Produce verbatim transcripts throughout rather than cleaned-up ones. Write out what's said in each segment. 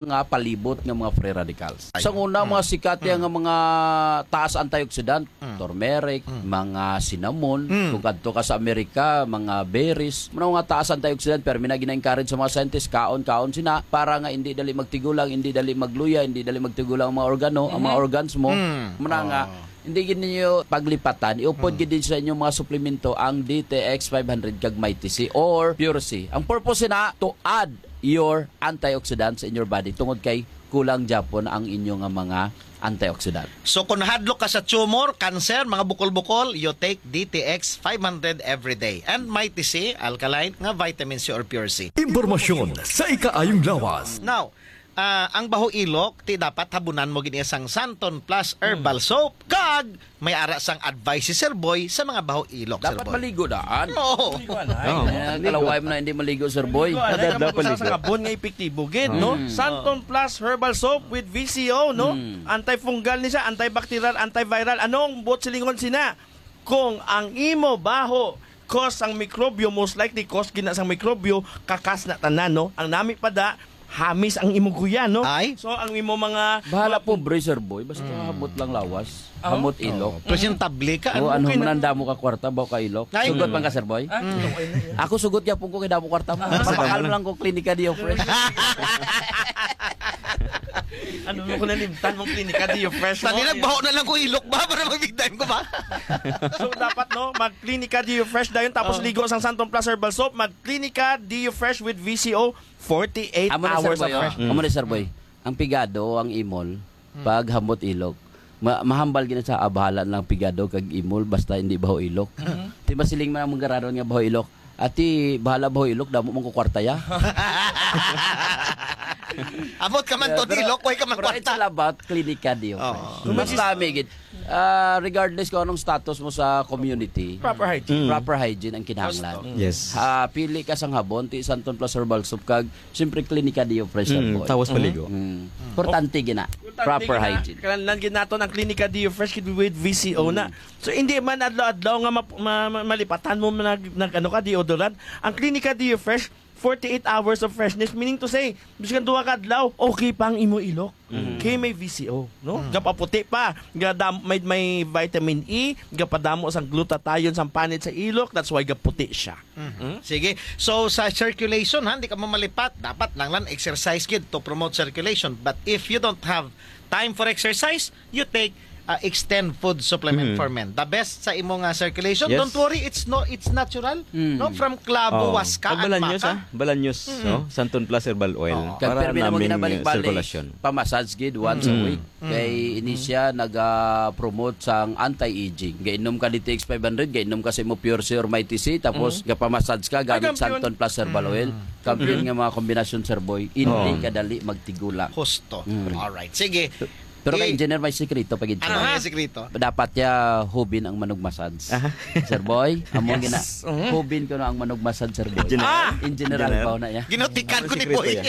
nga palibot nga mga free radicals. Ay. Sa una, Mm. mga sikat Mm. nga mga taas antioxidant, Mm. turmeric, Mm. mga cinnamon, Mm. kung kadto ka sa Amerika, mga berries, mga, mga taas antioxidant, pero mina gina-encourage sa mga scientist, kaon, kaon sina, para nga hindi dali magtigulang, hindi dali magluya, hindi dali magtigulang ang mga organo, ang mga Mhm. organs mo. Mm. Muna nga, Oh. hindi gid ninyo paglipatan, iupod Mm. gid din sa inyong mga suplemento ang D T X five hundred kag Mighty C or Pure C. Ang purpose na to add your antioxidants in your body tungod kay kulang gyapon ang inyo nga mga antioxidant. So, kung hadlok ka sa tumor, cancer, mga bukol-bukol, you take D T X five hundred every day. And Mighty C, alkaline, nga vitamin C or Pure C. Impormasyon sa ikaayong lawas. Now, ah, ang baho ilok, ti dapat habunan mo gid sang Santon Plus Herbal Mm. Soap, kag may ara sang advice si Sir Boy sa mga baho ilok, Sir Dapat Boy. maligo daan. Oo. Maligo, anay. Oo. Eh, Maligo. kalaway mo na hindi maligo, Sir Boy. Maligo, anay, Kada kapag daw usa sa paligo. sabon nga epektibo gid, Oo. no? Mm. Santon Plus Herbal Soap with V C O, no? Mm. Antifungal ni siya, antibacterial, antiviral. Anong buot silingon sina? Kung ang imo baho cause ang mikrobyo, most likely cause gina sang mikrobyo, kakas na tanan, no? Ang nami pa da, hamis ang imo guya, no? Ay. So, ang imo mga, Bahala mga pobre, Sir Boy. Basta Mm. hamot lang lawas. Oh. Hamot ilok. Oh, presentable ka. Oo, Ano ano, okay na? mananda mo ka kwarta, baho ka ilok. Ay. Sugot Mm. man ka, Sir Boy? Ah, Mm. okay na yun. Ako sugot niya po ko kay damo kwarta mo. Ah, Mapakal salamat. mo lang ko Klinika Dio Fresh. Ano mo ko nalimtan mong Klinika Dio Fresh mo? Tangina, baho na lang ko ilok ba para mag-big time ko ba? So, dapat, no, mag Klinika Dio Fresh dayon, tapos Oh. ligo sang Santon Plus Herbal Soap, mag Klinika Dio Fresh with V C O, forty-eight Amo na, Sir hours of Boy, oh. fresh. Mm. Amo na, Sir Boy. Ang pigado, ang imol, Mm. pag hamot ilok, ma-, mahambal gina sa abahalan lang pigado kag imol, basta hindi baho ilok. Mhm. Di masiling man ang manggaradon nga baho ilok. Ati, bahala baho ilok, damo man ko kwarta ya. Abot ka man Yeah, to, pero, di ilok, way ka man pero it's kwarta. all about Klinika Dio Oo. Fresh. Mas lami gid. Ah, regardless kung anong status mo sa community, Proper hygiene. Mm. proper hygiene ang kinahanglan. Gusto. Yes. Ah, pili ka sang habon, ti Santon Plus Herbal Soap kag, siyempre, Klinika Dio Fresh, Mm, Sir Boy. tawas Mm. paligo. Mm. Importante gina. Importante Proper gina. hygiene. Kinahanglan gid naton ang Klinika Dio Fresh with V C O na. Mm. So, hindi man adlaw-adlaw nga map-, ma-, ma-, malipatan mo nag, nag, ano ka, deodorant. Ang Klinika Dio Fresh, forty-eight hours of freshness, meaning to say, bisan duha ka adlaw, okay pa ang imo ilok. Mm. Kay may V C O, no? Mm. Gapaputi pa. Gadam-, may, may vitamin E, gapadamo sang glutathione sang panit sa ilok, that's why gaputi siya. Mhm. Mm. Sige. So, sa circulation, ha, hindi ka mo malipat. Dapat lang lang exercise gid to promote circulation. But if you don't have time for exercise, you take, uh, Extend Food Supplement Mm. for Men. The best sa imo nga circulation. Yes. Don't worry, it's no, it's natural. Mm. No, from clavo, Oh. waska, Pag and balanyos, maca. ah. Balanyos, Mm. no? Santon Plus Herbal Oil. Oo. Kag Para pirmi na mo naming ginabalik-balik, sirkulasyon. Pa-massage gid once a Mm. week. Mm. Kay ini Mm. siya naga-promote sang anti-aging. Gainom ka D T X five hundred, gainom ka sa imo Pure C or Mighty C, tapos Mm. gapa-massage ka Ay, gamit kampiyon. Santon Plus Herbal Oil. Mm. Kampiyon Mm. nga mga kombinasyon, Sir Boy. Hindi Oo. ka dali magtigulang. Husto. Mm. Alright. Sige. Pero kay I- Engineer, may sikreto pa gid Ano siya. nga yung sikreto? Dapat ya hubin ang manug massage. Aha. Sir Boy, amo Yes. gina-, Mhm. hubin ko na ang manug massage, Sir Boy. Engineer. Ah! Engineer Engineer. Albaw na ya. Ginutikan Ano ko ni sikreto Boy. yan?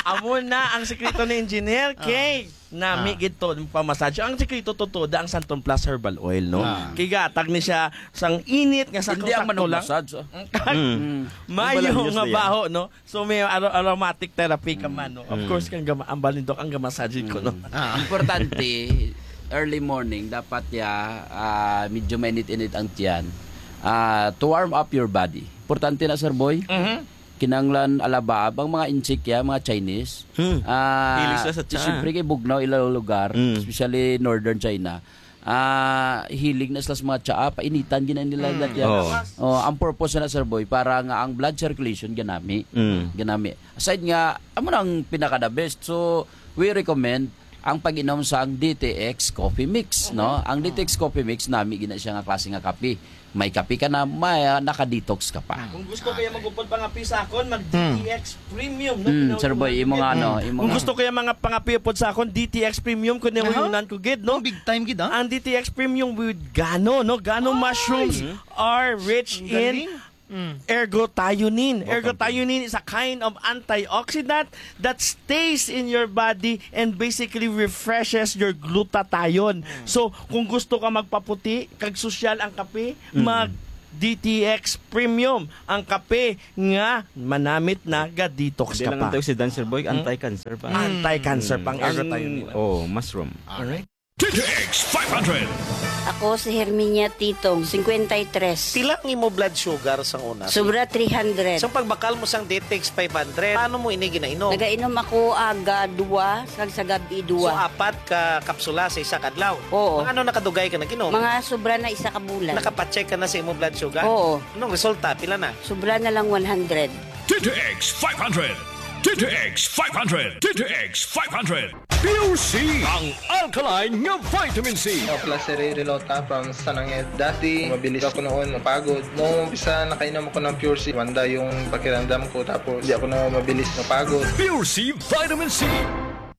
Amo na ang sikreto ni Engineer, Ah. kay nami Ah. gid to, pamassage. Ang sikreto to, to, da ang Santon Plus Herbal Oil, no? Ah. Kay gatag ni siya sang init nga Hindi ang sakto-sakto manug lang. massage, oh. Mm. Mm. Mayo Ang balanyos nga na yan. baho, no? So, may aro-, aromatic therapy ka Mm. man, no? Of Mm. course, kang gama-, ang balindok, ang gamassage ko, no? Mm. Ah. Importante, early morning, dapat ya, ah, medyo mainit-init ang tiyan. Ah, to warm up your body. Importante na, Sir Boy. Mhm. Kinanglan alabaab ang mga inchik ya, mga Chinese. Hmm. Ah, Hilig sila sa tsaa. siyempre kay bugnaw ilang lugar, Mm. especially northern China. Ah, hilig na sila sa mga tsaa, painitan gina nila Mm. lahat yan. Oo. Oh, ang purpose na, Sir Boy, para nga ang blood circulation ganami. Mm. Ganami. Aside nga, amo na ang pinaka the best. So, we recommend ang pag-inom sang D T X Coffee Mix, no? Mhm. Ang D T X Coffee Mix, nami gina siya nga klase nga kape. May kape ka na, may, ah, naka-detox ka pa. Kung gusto kaya mag-upod pangapi sa akon, mag Hmm. D T X Premium, no? Hmm, Sir Boy, imo nga, ano, imo Kung nga. gusto kaya mga pangapi upod sa akon, D T X Premium, kung Aha. nahuyunan ko gid, no? Ang big time gid, ah. Ang D T X Premium with gano, no? Gano Ay. mushrooms Hmm. are rich Ang in galing. Mm. ergothioneine. Welcome. Ergothioneine is a kind of antioxidant that stays in your body and basically refreshes your glutathione. Mm. So, kung gusto ka magpaputi, kag sosyal ang kape, Mm. mag D T X Premium, ang kape nga manamit na ga-detox Di ka lang pa. Antioxidant, sir boy, Hmm? Anti-cancer pa. Anti-cancer pang Ang, ergothioneine. Oh, mushroom. Alright. D T X five hundred. Ako si Herminia Titong, fifty-three. Pila ang imo blood sugar sang una? Sobra three hundred. Sa pagbakal mo sang D T X five hundred, paano mo ini ginainom? Nagainom ako aga dua, kag sa gabi So, dua. apat ka kapsula sa isa ka adlaw? Oo. Mga ano nakadugay ka nag-inom? Mga sobra na isa ka bulan. Nakapacheck ka na sa imo blood sugar? Oo. Anong resulta? Pila na? Sobra na lang one hundred. D T X five hundred. D T X five hundred. D T X five hundred. Pure C, ang alkaline nga vitamin C. Ako pala si Ray Relota from Sananget. Dati, mabilis ako noon mapagod. Nung umpisa, nakainom ako ng Pure C. Wanda yung pakiramdam ko, tapos di ako na mabilis mapagod. Pure C Vitamin C.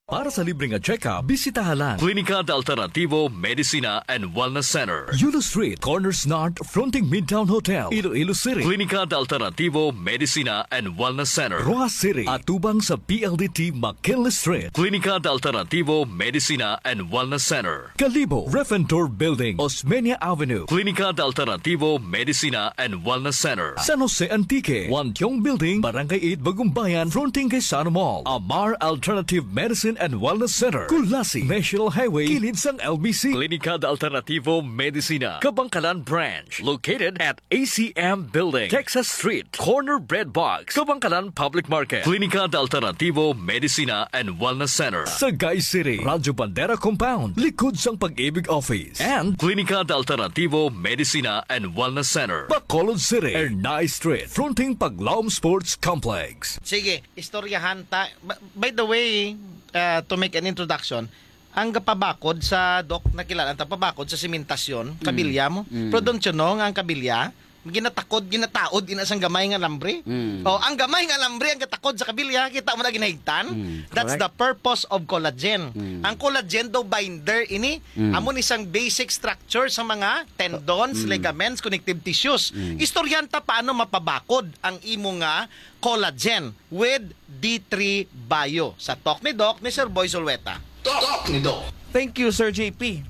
Para sa libre nga check-up, bisitaha lang Klinika de Alternativo Medicina and Wellness Center, Yulo Street, corner Snart, fronting Midtown Hotel, Iloilo City. Klinika de Alternativo Medicina and Wellness Center, Roxas City, atubang sa P L D T McKinley Street. Klinika de Alternativo Medicina and Wellness Center, Kalibo, Refentor Building, Osmeña Avenue. Klinika de Alternativo Medicina and Wellness Center, San Jose Antique, Wantiong Building, Barangay eight, Bagumbayan, fronting kay Sano Mall. Amar Alternative Medicine and Wellness Center, Culasi, National Highway, kilid sang L B C. Klinika de Alternativo Medicina, Kabankalan Branch, located at A C M Building, Texas Street, corner Bread Box, Kabankalan Public Market. Klinika de Alternativo Medicina and Wellness Center, Sagay City, Radyo Bandera Compound, likod sang Pag-ibig Office. And Klinika de Alternativo Medicina and Wellness Center, Bacolod City, Ernai Street, fronting Paglaom Sports Complex. Sige, istoryahan ta. Ba-, by the way, uh, to make an introduction, ang gapabakod sa, Doc, nakilala ta pabakod sa sementasyon, Mm. kabilya mo. Mm. Pero don't you know nga ang kabilya, ginatakod, ginataod, ina sang gamay nga alambre? Mm. Oh, ang gamay nga alambre ang gatakod sa kabilya, kita mo na ginahigtan? Mm. That's Correct. the purpose of collagen. Mm. Ang collagen daw binder ini, Mm. amo ni sang basic structure sa mga tendons, Mm. ligaments, connective tissues. Mm. Istoryahan ta paano mapabakod ang imo nga collagen with D three Bio sa Talk ni Doc ni Sir Boy Zulueta. Talk ni Doc. Thank you, Sir J P.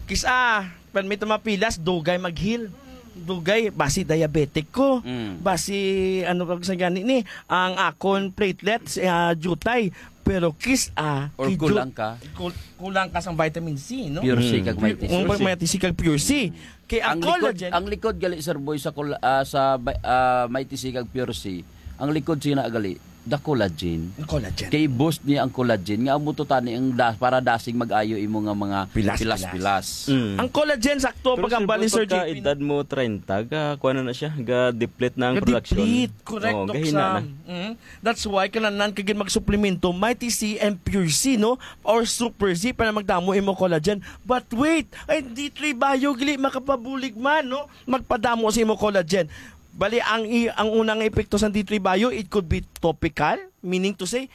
Kis-a, permi ta mapilas, dugay mag-heal. Dugay, basi diabetic ko. Mm. Basi, ano pa sa gani ni, ang akon platelets, ah, jutay. Pero kis-a, Or kidju-, kulang ka. kul-, kulang ka sang vitamin C, no? Pure C Mm. kag Pu-, Mighty C. ang Pure C. Mighty C kag Pure C. Kay ang Ang likod, collagen ang likod gali, Sir Boy, sa kol-, ah, sa ba-, ah, Mighty C kag Pure C, ang likod siya na gali, the collagen. Ang collagen. Kay boost niya ang collagen, nga amo to tani ang da-, para dasig mag-ayo imo nga mga Pilas-pilas. pilas-pilas. Mm. Ang collagen, sakto ang Pero, Sir pagkambal ni Boy, Sir pagka J P, no? edad mo treinta, ga-, kuha na na siya, ga-deplete na ang production. Ga-deplete. Correct, Oo, Doc gahina Sam. na. Mm. That's why kinahanglan ka gid magsuplemento, Mighty C and Pure C, no? Or Super C para magdamo imo collagen. But wait, ay, D three Bio gali makapabulig man, no? Magpadamo sa imo collagen. Bali, ang i-, ang unang epekto sa D three Bio, it could be topical, meaning to say,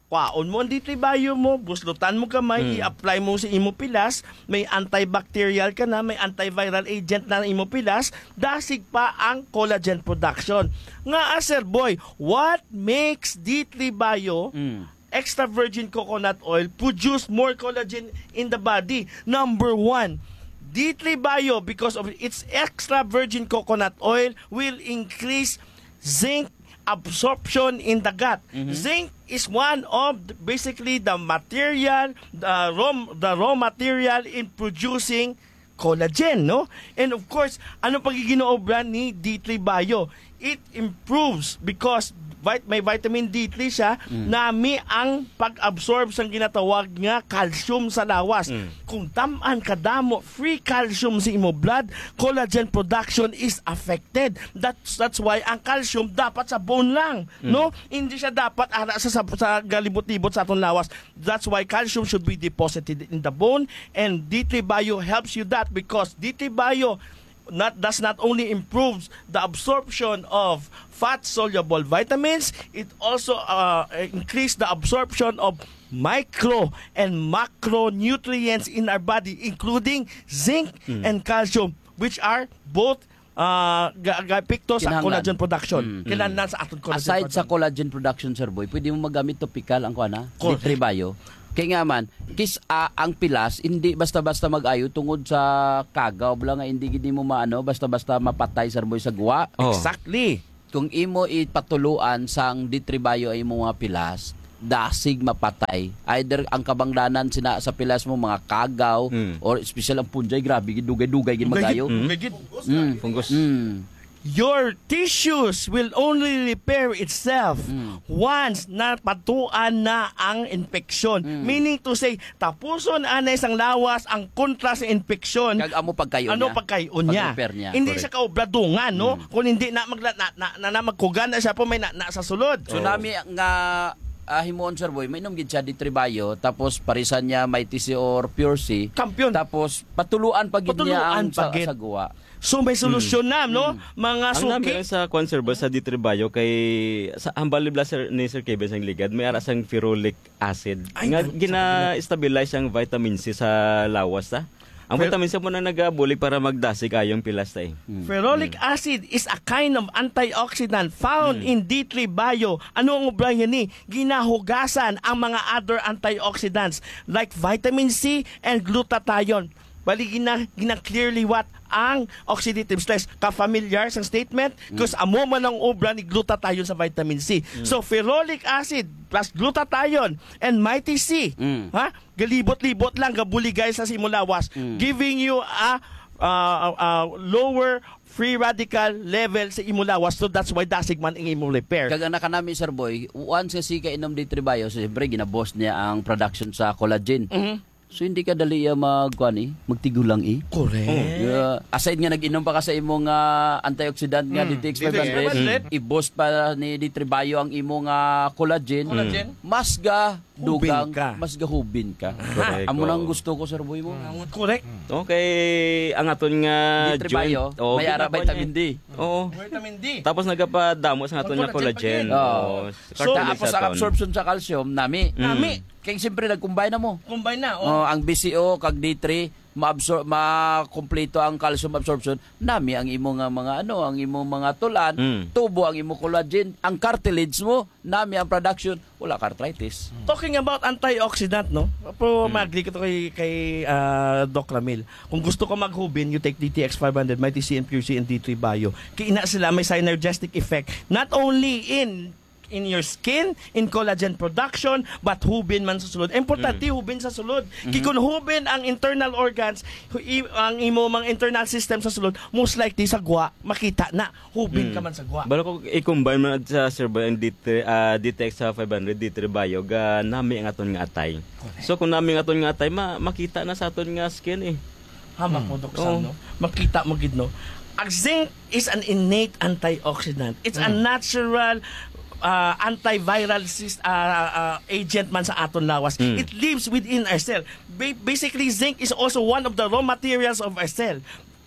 kwaon mo ang D three Bio mo, buslutan mo gamay, Hmm. i-apply mo sa imo pilas, may antibacterial ka na, may antiviral agent na ang imo pilas, dasig pa ang collagen production. Nga, ah, Sir Boy, what makes D three Bio Mm. extra virgin coconut oil produce more collagen in the body? Number one, D three Bio, because of its extra virgin coconut oil, will increase zinc absorption in the gut. Mhm. Zinc is one of the, basically the material, the raw, the raw material in producing collagen, no? And of course, ano pag ginaobra ni D three Bio? It improves because vit-, may vitamin D three siya, Mm. nami ang pag-absorb sang ginatawag nga calcium sa lawas. Mm. Kung tam-an kadamo free calcium sa imo blood, collagen production is affected. That's, that's why ang calcium dapat sa bone lang, Mm. no? Hindi siya dapat ara sa, sa, sa galibot-libot sa aton lawas. That's why calcium should be deposited in the bone, and D three Bio helps you that because D three Bio not, does not only improves the absorption of fat-soluble vitamins, it also, uh, increase the absorption of micro and macronutrients in our body, including zinc Mm. and calcium, which are both, uh, ga-, ga-epekto sa Kinahanglan. collagen production. Mm. Kinahanglan sa aton collagen Aside sa production. collagen production, Sir Boy, pwede mo magamit topical ang kuan, ha? Correct. D three Bio. Kay nga man, kis-a ang pilas, hindi basta-basta mag-ayo tungod sa kagaw bala nga hindi gid nimo maano, basta-basta mapatay, Sir Boy, sa guwa. Oh. Exactly. Kung imo ipatuluan sang D three Bio ang imong mga pilas, dasig mapatay. Either ang kabangdanan sina sa pilas mo, mga kagaw, Mm. or special ang punjay, grabe, gid dugay-dugay, gid Dugay gid, magayo. Mm. dugay gid. Mm. Fungus. Mm. Your tissues will only repair itself Mm. once napatuan na ang infeksyon. Mm. Meaning to say, tapuson anay sang lawas ang kontra sa infeksyon. Kag amo pagkayo Ano niya. pagkayo niya? Pag-repair niya. Hindi Correct. siya kaobradungan, no? Mm. Kung hindi na, magla-, na, na, na, na magkuga na siya po may na, na sa sulod. So, Oo. nami nga, ah, himuon, Sir Boy, mainom gid siya D three Bio, tapos parisan niya may T C or Pure C. Kampiyon. Tapos, patuluan pa gid niya Patuluan ang pa sa, gid. sa guwa. So, may solusyon Mm. na, no? Mm. Mga Ang nami suki. lang sa kwan, Sir Boy, sa D three Bio kay sa hambal ni Blas, Sir, ni Sir Kevin sang ligad, may ara sang ferulic acid. Ay, Nga nag-, gina-stabilize ang vitamin C sa lawas, ta? Ang Fer- vitamin C mo na nagabulig para magdasig ayong pilas, ta, eh. Mm. Ferulic Mm. acid is a kind of antioxidant found Mm. in D three Bio. Ano ang obra niya ni? Ginahugasan ang mga other antioxidants like vitamin C and glutathione. Bali, gina-, gina-clear liwat ang oxidative stress. Ka-familiar sa statement? Mm. 'Cause amo man ang obra ni glutathione sa vitamin C. Mm. So, ferulic acid plus glutathione and Mighty C, Mm. ha? Galibot-libot lang, gabuligay sa imo lawas, Mm. giving you a, uh, a lower free radical level sa imo lawas. So, that's why dasig man ang imo repair. Kag ang nakanami, Sir Boy, once nga si kainom D three Bio, siyempre, ginaboss niya ang production sa collagen. Mhm. So, hindi ka dali iya mag-, kuan, eh, magtigulang, eh. Correct. Oh. Yeah. Aside nga nag-inom pa ka sa imong, ah, antioxidant nga Mm. D T X five hundred, D T X five hundred. I-boost pa ni D three Bio ang imong, ah, collagen. Collagen. Mas ga Hubin dugang, ka. mas gahubin ka. Correct, Amo nang oo. gusto ko, Sir Boy mo. Mm, correct. Okay, ang aton nga D three joint, Bio, oh, may ara ginakuan vitamin niya. D. Oo. Vitamin D. Tapos nagapadamo sa aton Ang nga collagen, collagen. Oo. Oo. So, Cartilage tapos sa ang aton. absorption sa calcium, nami. Mm. Nami. Kay siyempre, nag-combine na mo. Combine na, oh. Oh, ang B C O kag D three, maabsor-, makompleto ang calcium absorption, nami ang imo nga mga ano, ang imo mga tulan, Mm. tubo ang imo collagen, ang cartilage mo, nami ang production, wala ka arthritis. Talking about antioxidant, no? Pero Mm. mag-agree ko to kay, kay, ah, Doc Ramil. Kung gusto ko maghubin, you take D T X five hundred, Mighty C and Pure C and D three Bio. Kay ina sila may synergistic effect, not only in in your skin, in collagen production, but hubin man sa sulod. Importante, Mm. hubin sa sulod. Kay Mhm. kung hubin ang internal organs, hu-, i-, ang imo mga internal system sa sulod, most likely sa gwa, makita na, hubin Mm. ka man sa gwa. Balo ko i-combine man sa, Sir Boy, ang D three, ah, D T X sa five hundred, D three Bio, ga nami ang aton nga atay. Correct. So, kung nami ang aton nga atay, ma-, makita na sa aton nga skin, eh. Hamak Mm. mo, Doc Oo. Sam, no? Makita mo gid, no? Ang zinc is an innate antioxidant. It's a Mm. natural, uh, antiviral sys-, uh, uh, agent man sa aton lawas. Mm. It lives within our cell. Ba-, basically, zinc is also one of the raw materials of our cell.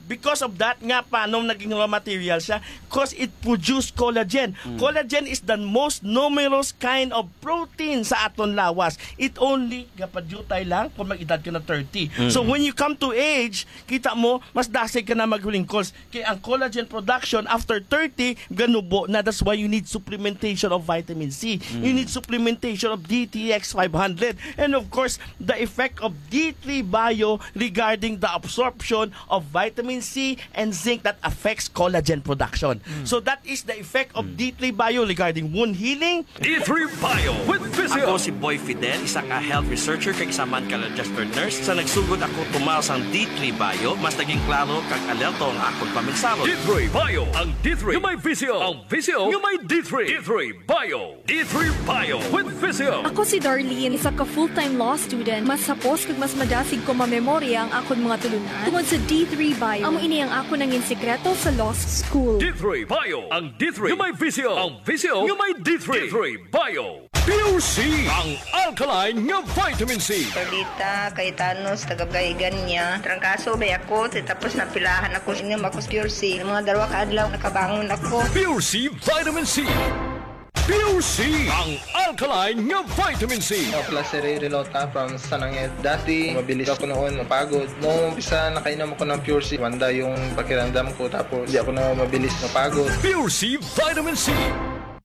Because of that, nga paano naging raw material siya? 'Cause it produce collagen. Mm. Collagen is the most numerous kind of protein sa aton lawas. It only gapadyutay lang kung mag-edad ka na thirty. Mm. So, when you come to age, kita mo, mas dasig ka na maghulingkos. Kay ang collagen production after thirty, ganubo na. That's why you need supplementation of vitamin C. Mm. You need supplementation of D T X five hundred. And of course, the effect of D three Bio regarding the absorption of vitamin C and zinc that affects collagen production. Mm. So that is the effect of Mm. D three Bio regarding wound healing, D three Bio with Physio. Ako si Boy Fidel, isa nga health researcher kag isa man ka registered nurse. Sa nagsugod ako tumaw sang D three Bio, mas naging klaro kag alerto ang akon paminsahon. D three Bio, ang D three nga may Physio, ang Physio nga may D three. D three Bio. D three Bio with Physio. Ako si Darlene, isa ka full-time law student. Mas hapos kag mas madasig ko mamemorya ang akon mga tulunan tungod sa D three Bio. Amo ini ang akon nangin sikreto sa law school. D three Bio, ang D three nga may Physio, ang Physio nga may D three. D three Bio. Pure C, ang alkaline nga vitamin C. Perdita, Cayetano, sa taga Bugay, Igania. Trangkaso ba ako? Tapos napilahan ako, inom ako sa Pure C. Mga dalawa ka adlaw, nakabangon ako. Pure C Vitamin C. Pure C, ang alkaline nga vitamin C. Ako pala si Ray Relota from San Angel. Dati, mabilis ako noon mapagod. Nung umpisa, nakainom ako ng Pure C, wanda yung pakiramdam ko. Tapos, di ako na mabilis mapagod. Pure C Vitamin C.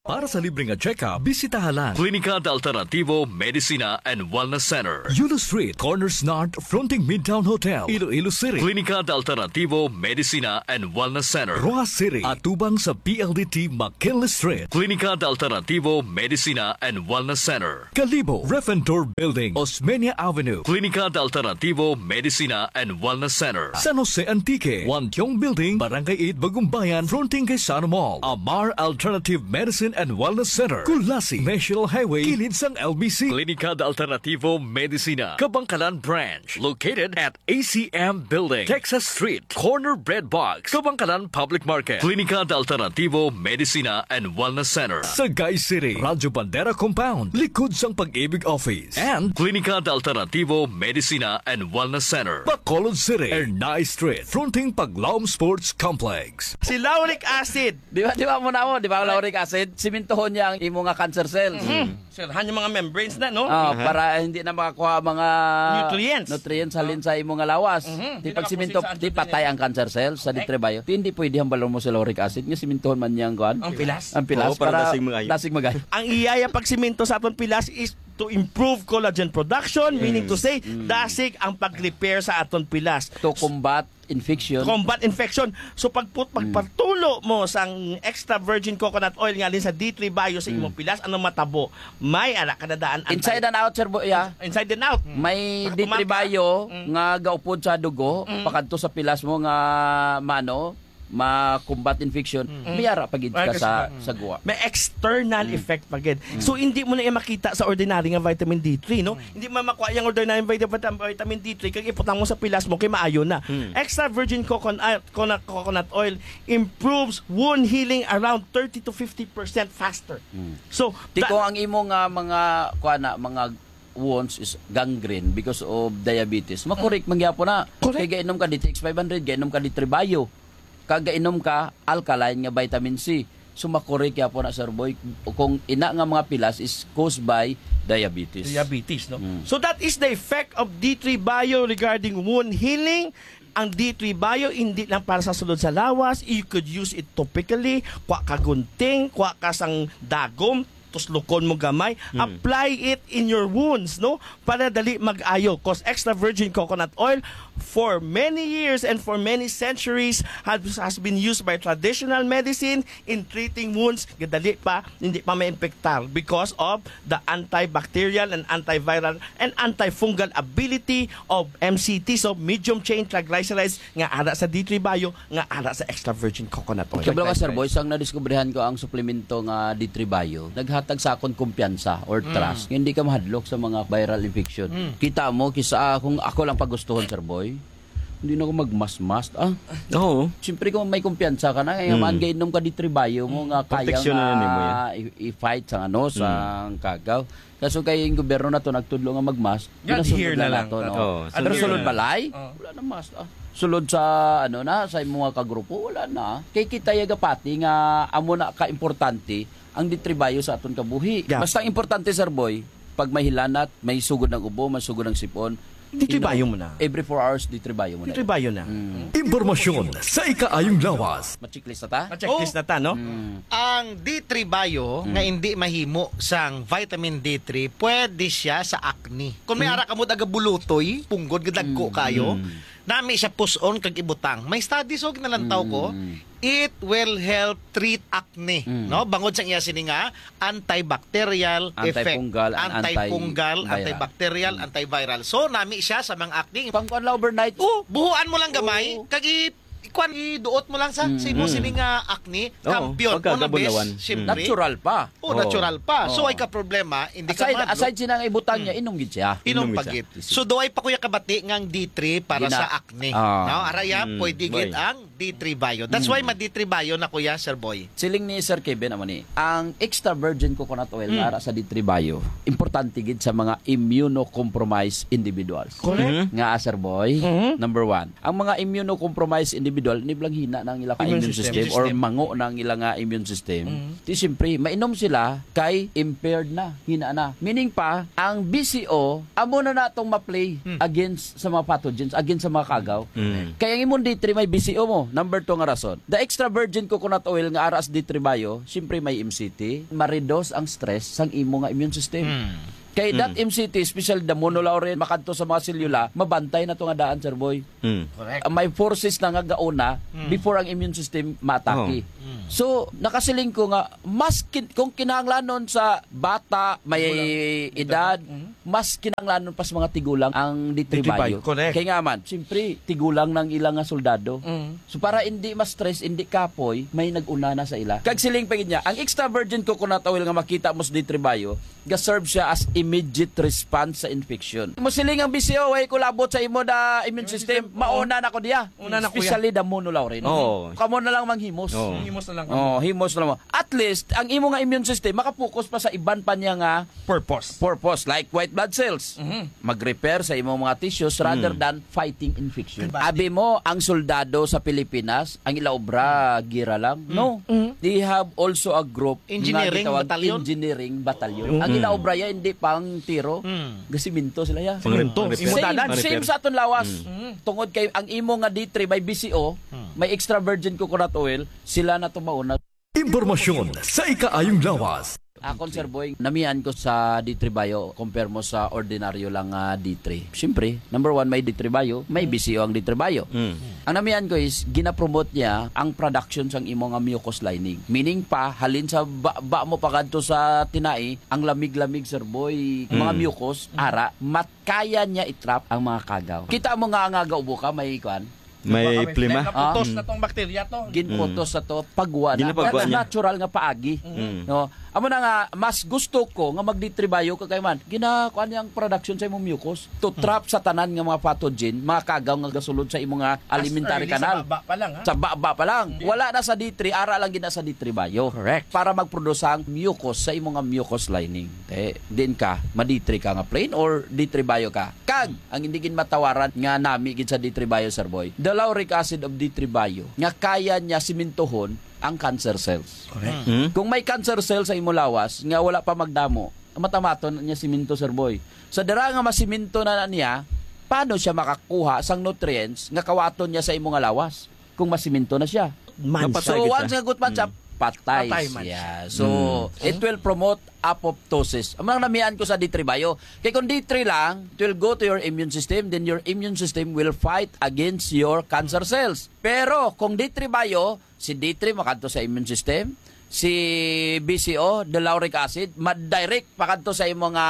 Para sa libre nga check-up, bisitaha lang Klinika de Alternativo Medicina and Wellness Center, Yulo Street, Corners North, fronting Midtown Hotel, Iloilo City. Klinika de Alternativo Medicina and Wellness Center, Roxas City, atubang sa P L D T McKinley Street. Klinika de Alternativo Medicina and Wellness Center, Kalibo, Refentor Building, Osmeña Avenue. Klinika de Alternativo Medicina and Wellness Center, San Jose Antique, Wantiong Building, Barangay eight, Bagumbayan, fronting kay Sano Mall. Amar Alternative Medicine and Wellness Center, Culasi, National Highway, kilid sang L B C. Klinika de Alternativo Medicina, Kabankalan Branch, located at A C M Building, Texas Street, corner Bread Box, Kabankalan Public Market. Klinika de Alternativo Medicina and Wellness Center, Sagay City, Radyo Bandera Compound, likod sang Pag-ibig Office, and Klinika de Alternativo Medicina and Wellness Center, Bacolod City, Ernai Street, fronting Paglaom Sports Complex. Si lauric acid. Di ba, di ba mo na mo, di ba, lauric acid? Simintuhon niya ang imo nga cancer cells. Sirhan yung mga membranes na, no? Ah, para hindi na makakuha ang mga Nutrients. nutrients halin sa imo nga lawas. Mhm. Di Hindi pag siminto, nakapusin sa di patay ang cancer cells sa Correct. D three Bio. Di, hindi pwede hambalon mo sa lauric acid nga simintuhon man niya ang kuan. Ang pilas. Ang pilas Oo, para para dasig magayo. dasig magayo. Ang iyaya pagsiminto sa aton pilas is to improve collagen production, meaning to say, dasig ang pag-repair sa aton pilas. To combat infection. Combat infection. So pagput pagpatulo mo sang extra virgin coconut oil nga din sa D three Bio sa imong pilas, anong matabo? May ara ka na daan anti- Inside and out, sir, bo-, yeah. Inside and out. May Para D three kumaga. Bio Mm. nga gaupod sa dugo, Mm. pakadto sa pilas mo nga mano, ma-combat infection, Mm. may ara pa gid Ay, ka kasi sa, pa. sa guwa. May external Mm. effect pa gid. Mm. So hindi mo na iya makita sa ordinary nga vitamin D three, no? Mm. Hindi mo makuha yung ordinary vitamin, vitamin D three kag iputang mo sa pilas mo kay maayo na. Mm. Extra virgin coconut, coconut, coconut oil improves wound healing around thirty to fifty percent faster. Mm. So, Ti da- kung ang imo nga mga, kuha na, mga wounds is gangrene because of diabetes, makorek man gyapon na. Correct. Kay gainom ka D T X five hundred, gainom ka D three Bio, kag gainom ka alkaline nga vitamin C. So, makorek gyapon na, Sir Boy, kung ina nga mga pilas is caused by diabetes. Diabetes, no? Mm. So, that is the effect of D three Bio regarding wound healing. Ang D three Bio, hindi lang para sa sulod sa lawas. You could use it topically. Kuha ka gunting, kuha ka sang dagom, tuslukon mo gamay. Mm. Apply it in your wounds, no? Para dali mag-ayo. 'Cause extra virgin coconut oil, for many years and for many centuries, has, has been used by traditional medicine in treating wounds. Gadali pa, hindi pa ma-infectar because of the antibacterial and antiviral and antifungal ability of M C T, so medium chain triglycerides, nga ara sa D three Bio, nga ara sa extra virgin coconut oil. Kabalo ka, Sir Boy, sang nadiskubrihan ko ang suplemento nga D three Bio, naghatag sa akon kumpiyansa or Mm. trust nga hindi ka mahadlok sa mga viral infection. Mm. Kita mo, kisa kung ako lang pagustuhon, Sir Boy, hindi na ako magmask-mask, ah. Oo. Siyempre, kung may kumpiyansa ka na, eh, Mm. man, gainom ka D three Bio mo Mm. nga kaya Proteksyon na nga nimo yan. i-, i-fight sa, ano, sa Mm. kagaw. Kaso kay ang gobyerno na to nagtudlo nga mag-mask, Nga, ginasunod here na na lang. nato, no? Oo, Pero sunod sulod na. balay, Oo. wala na mask, ah. Sulod sa, ano na, sa imo nga kagrupo, wala na. Kay kita yagapati nga amo na ka-importante ang D three Bio sa aton kabuhi. Yeah. Basta ang importante, Sir Boy, pag may hilanat, may sugod ng ubo, may sugod ng sipon, D three Bio mo na. every four hours, D three Bio mo na. D three Bio na. Mm. Impormasyon sa ikaayong lawas. Ma-checklist na ta? Ma-checklist Oh. na ta, no? Mm. Ang D three Bio Mm. nga hindi mahimo sang vitamin D three, pwede siya sa acne. Kung may Mm. ara kamo daga bulutoy, punggod nga dagko Mm. kayo, Mm. nami siya puson kag ibutang. May studies, oh, ginalantaw ko. Mm. It will help treat acne, Mm. no? Bangod sa iya sini nga antibacterial effect. Antifungal and Antifungal, antiviral. antibacterial, Mm. antiviral. So, nami siya sa mga acne. Pang kuwan lang overnight. Oh, buhuan mo lang gamay, Oo. kag i-, ikuan, iduot mo lang sa, Mm. sa imo Mm. sini nga acne. Oo, Kampiyon. Una, pagkagabulawan. bes, siyempre. Mm. Natural pa. Oh, Oo. natural pa. So, Oo. ay ka problema, hindi ka Aside, mahadlok. aside sina nga ibutang niya, Mm. inom gid siya. Inom Inom pa gid siya. gid. So, do ay pa kuya kabati nga ang D three para Gina- sa acne. Ah. No? Araya, Mm, pwede gid boy. ang D three Bio. That's Mm. why ma-D three Bio na, kuya, Sir Boy. Siling ni Sir Kevin, amo ni, ang extra virgin coconut oil Mm. nga ara sa D three Bio, importante gid sa mga immunocompromised individuals. Correct. Mhm. Nga, Sir Boy, Mhm. number one. Ang mga immunocompromised individual, ini bala hina na ang ila ka Immune immune system. system or System. mango na ang ila nga immune system. Mhm. Di siyempre, mainom sila kay impaired na, hina na. Meaning pa, ang B C O, amo na natong ma-play Hmm. against sa mga pathogens, against sa mga kagaw. Hmm. Kaya ang imong D three may B C O mo, Number two nga rason, the extra virgin coconut oil nga ara sa D three Bio, siyempre may M C T, ma-reduce ang stress sang imo nga immune system. Mm. Kay that Mm. M C T, especially the monolaurin, makadto sa mga selula, mabantay na to nga daan, Sir Boy. Mm. Correct. Ah, may forces na nga gauna Mm. before ang immune system maatake. Oh. Mm. So, nakasiling ko nga, mas kin-, kung kinahanglanon sa bata, may Tigulang. edad, Mm. mas kinahanglanon pa sa mga tigulang ang D three D three Bio. Bio, correct. Kay nga man, siyempre, tigulang ng ilang nga soldado. Mm. So, para hindi ma-stress, hindi kapoy, may nag-una na sa ila. Kag siling pa gid niya, ang extra virgin coconut oil nga makita mo sa D three Bio, ga-serve siya as immediate response sa infection. Mo siling ang B C O, way ko labot sa imo da immune Immune system, system, oo. mauna na ko diya. Una na ko Especially yan. the monolaurin. Oo. Kamo na lang manghimos. Oo. Himos na lang. Oh, himos na lang. At least, ang imo nga immune system, makapokus pa sa iban pa niya nga Purpose. purpose, like white blood cells. Mhm. Mag-repair sa imong mga tissues rather Mm. than fighting infection. Diba? Abi mo, ang soldado sa Pilipinas, ang ila obra, gira lang. Mm. No. Mm. They have also a group Engineering nga gitawag battalion? engineering battalion. Mm. Ang ila obra ya, hindi pang tiro. Mm. Gasiminto sila ya. Pangrento. Same, Pangrento. same sa aton lawas. Mm. Mm. Tungod kay ang imo nga D three may B C O, Mm. may extra virgin coconut oil, sila na tumaon na. Impormasyon sa ikaayong lawas. Akon, Sir Boy, namian ko sa D three Bio, compare mo sa ordinaryo lang nga D three. Siyempre, number one, may D three Bio, may B C O ang D three Bio. Mm. Ang namian ko is, ginapromote niya ang production sang imo nga mucus lining. Meaning pa, halin sa ba, ba mo pakadto sa tinai, ang lamig-lamig, Sir Boy, mga Mm. mucus, ara, mat-, kaya niya i-trap ang mga kagaw. Kita mo nga ang aga ubo ka, may kuan, May Baka may plema. phlegm, naputos Ah. na tong bakterya to. Ginputos Mm. sa to, pagwa na. Ginapagwa That's niya. natural nga paagi. Mm. No? Amo na nga, mas gusto ko nga mag-D three Bio ka kay man. Ginakuan niya ang production sa imong mucus to Mm. trap sa tanan nga mga pathogen, mga kagaw nga gasulod sa imong nga As alimentary early sa canal. baba pa lang, ha? Sa baba pa lang. Mm. Wala na sa D three, ara lang gina sa D three Bio. Correct. Para magproduce ang mucus sa imong nga mucus lining. Eh, din ka, ma-D three ka nga plain or D three Bio ka? Kag, ang hindi gid matawaran nga nami gid sa D three Bio, Sir Boy, the lauric acid of D three Bio, nga kaya niya simintuhon ang cancer cells. Correct. Hmm. Kung may cancer cell sa imo lawas nga wala pa magdamo, matamaton niya siminto, Sir Boy. Sa dira nga masiminto na, na niya, paano siya makakuha sang nutrients nga kawaton niya sa imo nga lawas? Kung masiminto na siya. Mansay So, kita. once nga gutman siya, Mm. patay Patay man siya. siya. So, Mm. it will promote apoptosis. Ang mga namian ko sa D three Bio. Kay kung D three lang, it will go to your immune system, then your immune system will fight against your cancer cells. Pero kung D three Bio, si D three makadto sa immune system, si B C O, the lauric acid, ma-direct pakadto sa imo nga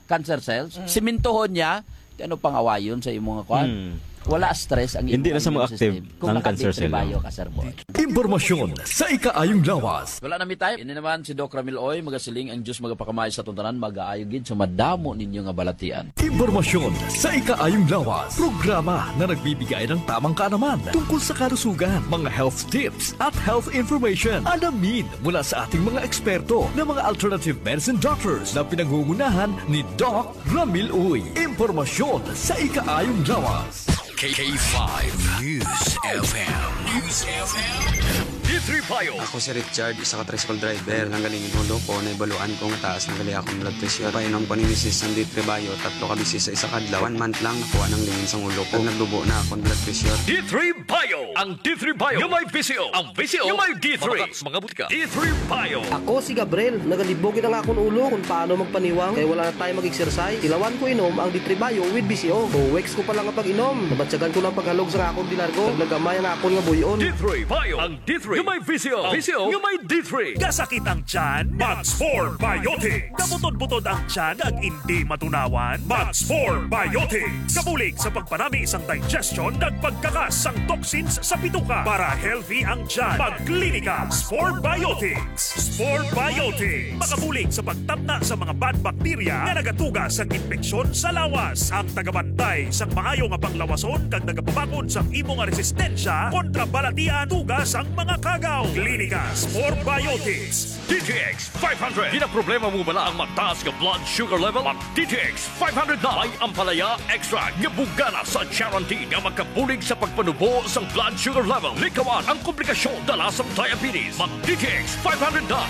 cancer cells, Mm. simintuhon niya, Di ano pang awayon sa imong kuan? Hmm. Wala stress ang Hindi imong na sa mga immune active system kung ang cancer cell naka-D three Bio mo. ka, Sir Boy. Impormasyon sa ikaayong lawas. Wala na mi time. Ini naman si Doc Ramil Oy, magasiling ang Diyos magapakamay sa atong tanan, magaayo gid sa madamo ninyo nga balatian. Impormasyon sa ikaayong lawas. Programa na nagbibigay ng tamang kaalaman tungkol sa kalusugan, mga health tips at health information. Alamin mula sa ating mga eksperto na mga alternative medicine doctors na pinangungunahan ni Doc Ramil Uy, impormasyon sa ikaayong lawas. K five News F M. News F M. D three Bio. Ako si Richard, isa ka tricycle driver. Nanggaling yung ulo ko, naibaluan ko nga taas na gali akong blood pressure. Painom ko ni misis ang D three Bio, tatlo ka bisis sa isa ka adlaw. One month lang, nakuha ng lingin sa ulo ko. Nagdubo na akong blood pressure. D three Bio. Ang D three Bio. Yung may V C O. Ang V C O. Yung may D three. Mga butika. D three Bio. Ako si Gabriel. Nagalibog ang akon ulo kung paano magpaniwang kay wala na tayo mag-exercise. Tilawan ko inom ang D three Bio with V C O. Two weeks ko pa lang ang pag-inom. Nabatyagan ko ng paghalog sa akon dilargo. Naglagamay ang akon nga buyon. D three Bio. Ang D three. Yung may V C O. V C O. Yung may D three. Kasakit ang tiyan? Max four Biotic. Kabutod-butod ang tiyan ag indi matunawan? Max four Biotics. Kabulig sa pagpanami sang digestion kag pagkakas sang toxins sa bituka para healthy ang tiyan. Magklinika Spore Biotics. Spore Biotics. Makabulig sa pagtamna sa mga bad bacteria nga nagatuga sang impeksyon sa lawas. Ang tagabantay sang maayo nga panglawason kag nagapabakod sang imo nga resistensya kontra balatian tuga sang mga kagaw. Klinika Spore Biotics. D T X five hundred. Ginaproblema mo bala ang mataas nga blood sugar level? Mag D T X five hundred na. May ampalaya extract nga bugana sa charantin nga makabulig sa pagpanubo sang blood sugar level. Likawan ang komplikasyon dala sang diabetes. Mag D T X five hundred na.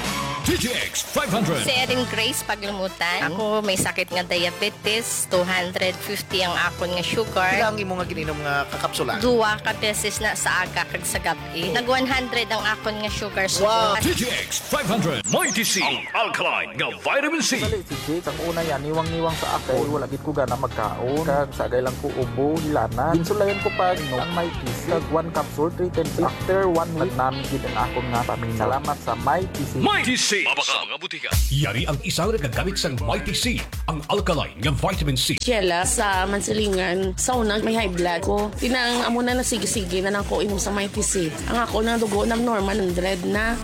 D T X five hundred. Si Erin Grace Paglumutan. Ako may sakit nga diabetes, two hundred fifty ang akon nga sugar. Pila ang imo nga gininom nga kakapsula? Duwa ka beses na, sa aga kag sa gab-i. Nag one hundred ang akon nga sugar. Wow! D T X five hundred. Mighty C, ang alkaline nga vitamin C. Dali, si Jake, ang una yan, niwang-niwang sa ako. Wala gid ko gana magkaon. Kag sagay lang ko ubo, hilanat. Ginsulayan ko pa, inom ang Mighty C. Kag one capsule, three times. After one week, nagnami gid ang akon nga pamina. Salamat sa Mighty C. Mighty C. Mabakal sa mga butika. Yari ang isa nga nagagamit sang Mighty C, ang alkaline nga vitamin C. Sheila sa Mansilingan. Sa una, may high blood ko. Tinang amo na nasigi-sige na lang ko inom sa Mighty C. Ang ako na dugo nag-normal, hundred na.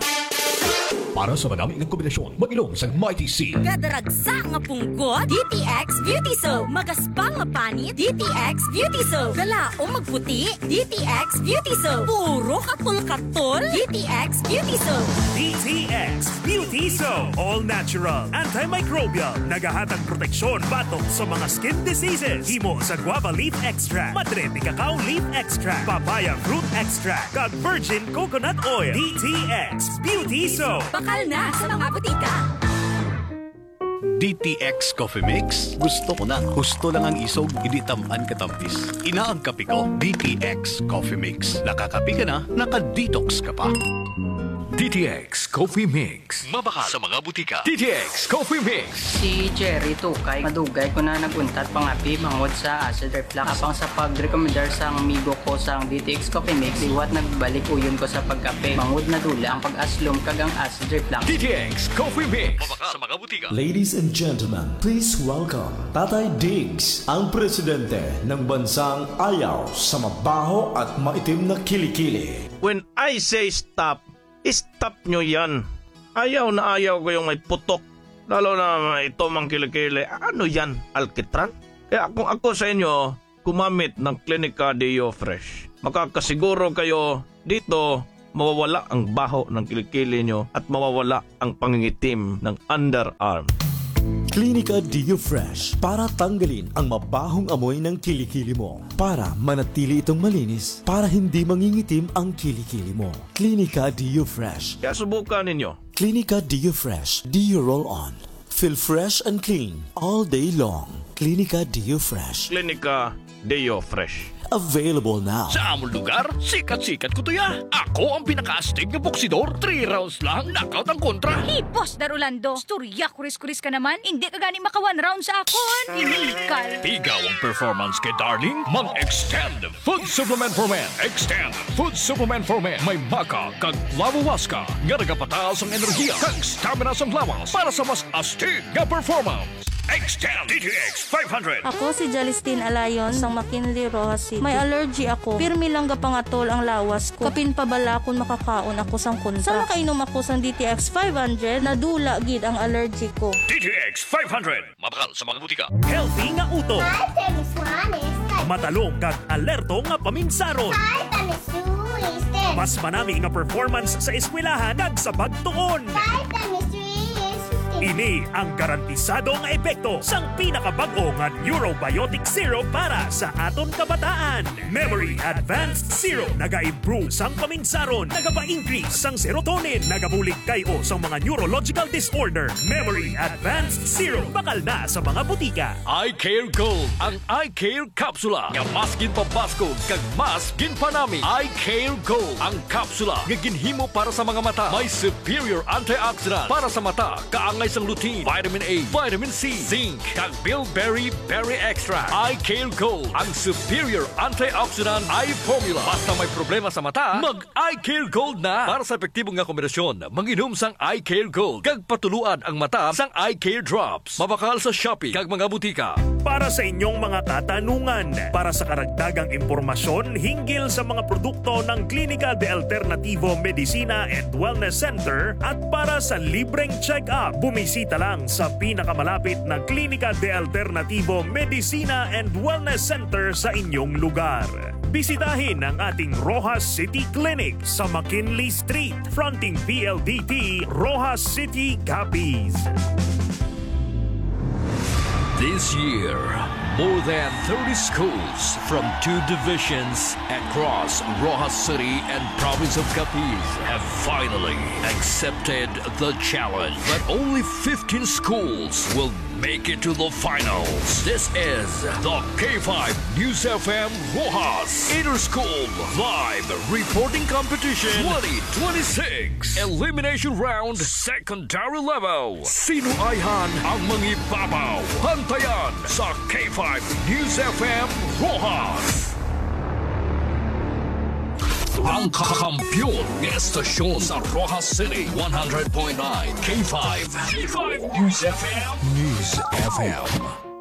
Para sa madami nga kombinasyon, mag-inom sang Mighty C. Kadaragsa nga punggot, D T X Beauty Soap. Magaspang nga panit, D T X Beauty Soap. Galaom magputi, D T X Beauty Soap. Puro katol-katol, D T X Beauty Soap. D T X Beauty Soap. All natural, antimicrobial. Nagahatag proteksyon batok sa mga skin diseases. Himo sa guava leaf extract, madre de cacao leaf extract, papaya fruit extract, kag virgin coconut oil. D T X Beauty Soap. Bakal na sa mga butika. D T X Coffee Mix. Gusto ko na. Husto lang ang isog, hindi tamaan katamis. Ina ang kape ko, D T X Coffee Mix. Nakakape ka na, naka-detox ka pa. D T X Coffee Mix. Mabakal sa mga butika. D T X Coffee Mix. Si Jerry Tukay, madugay ko na nag-untat pangapi bangod sa acid reflux. Apang sa pag-recommendar sang amigo ko sang D T X Coffee Mix, liwat nagbalik uyon ko sa pagkape. Bangod nadula ang pag-aslom kag ang acid reflux. D T X Coffee Mix. Mabakal sa mga butika. Ladies and gentlemen, please welcome Tatay Diggs, ang presidente ng bansang ayaw sa mabaho at maitim na kilikili. When I say stop, stop nyo yan. Ayaw na ayaw ko yung may putok. Lalo na may itom ang kilikili. Ano yan? Alkitran? Kaya kung ako sa inyo, gumamit ng Clinica Deo Fresh. Makakasiguro kayo dito mawawala ang baho ng kilikili nyo at mawawala ang pangingitim ng underarm. Clinica Deo Fresh para tanggalin ang mabahong amoy ng kilikili mo. Para manatili itong malinis, para hindi mangingitim ang kilikili mo. Clinica Deo Fresh. Kaya subukan ninyo. Clinica Deo Fresh Deo Roll On. Feel fresh and clean all day long. Clinica Deo Fresh. Clinica Deo Fresh. Available now. Sa amon lugar, sikat-sikat ko to ya. Ako ang pinakaastig nga boksidor. Three rounds lang, knockout ang kontra. Hey, Boss Dar Orlando, istorya kuris-kuris ka naman. Hindi ka gani maka one round sa akon. Inikal. Tigaw ang performance kay Darling. Mag-extend Food Supplement for Men. Extend Food Supplement for Men. May maca kag flavowaska nga nagapataas ang enerhiya kag stamina sang lawas para sa mas astig nga performance. Extend D T X five hundred. Ako si Jalistin Alayon sang McKinley, Roxas City. May allergy ako. Pirmi lang gapangatol ang lawas ko. Kapin pa bala kon makakaon ako sang kontra. Sa makainom ako sang D T X five hundred, nadula gid ang allergy ko. D T X five hundred. Mabakal sa mga butika. Healthy nga utok. Five times one is ten. Matalong kag alerto nga paminsaron. Five times two is ten. Mas manami nga performance sa eskwelahan kag sa pagtuon. Five times three is fifteen. Ini ang garantisado nga epekto sang pinakabag-o nga neurobiotic syrup para sa aton kabataan. Memory Advanced Syrup nagaimprove sang paminsaron, nagapa-increase sang serotonin, nagabulig kay-o sang mga neurological disorder. Memory Advanced Syrup, bakal na sa mga butika. Eye Care Gold, ang Eye Care Capsula nga mas ginpabaskog kag mas ginpanami. Eye Care Gold, ang kapsula nga ginhimo para sa mga mata. May superior antioxidant para sa mata, kaangay sang lutein, vitamin A, vitamin C, zinc, kag bilberry berry extract. Eye Care Gold, ang superior antioxidant eye formula. Basta may problema sa mata, mag Eye Care Gold na. Para sa epektibo nga kombinasyon, manginom sang Eye Care Gold kag patuluan ang mata sang Eye Care Drops. Mabakal sa Shopee kag mga butika. Para sa inyong mga katanungan, para sa karagdagang impormasyon hinggil sa mga produkto ng Klinika de Alternativo Medicina and Wellness Center at para sa libreng check-up, bumisita lang sa pinakamalapit na Klinika de Alternativo Medicina and Wellness Center sa inyong lugar. Bisitahin ang ating Roxas City Clinic sa McKinley Street, fronting P L D T, Roxas City, Capiz. This year, more than thirty schools from two divisions across Roxas City and province of Capiz have finally accepted the challenge. But only fifteen schools will make it to the finals. This is the K five News F M Roxas Inter-School Live Reporting Competition twenty twenty-six Elimination Round Secondary Level. Sino ayhan ang mangibabaw? Bantayan sa K five News F M Roxas. Ang kakampiyon nga estasyon sa Roxas City, one hundred point nine K five. K five News F M. News F M.